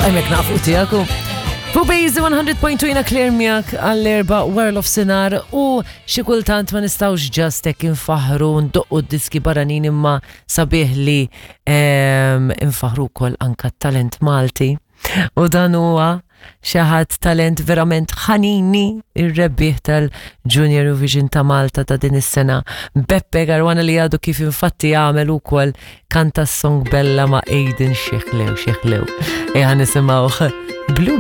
Għajmek nafu tijaku. Fuq Bejzi 100.2 jina Claire miegħek għall-erba wara l-ofsinar u xi kultant ma nistgħux just hekk infaħru ndoqqu d-diski barranin imma sabiħ li ehm, infaħru wkoll anka t-talent Malti. U dan huwa xi ħadd talent verament ħanini ir-rebbieħ tal-Junior Eurovision ta' Malta ta' din is-sena. Beppe Garwana li għadu kif infatti għamel ukoll kanta s-song Bella ma' Aiden Xieħlew Xieħlew. Eħa nisimgħuh Bluebird.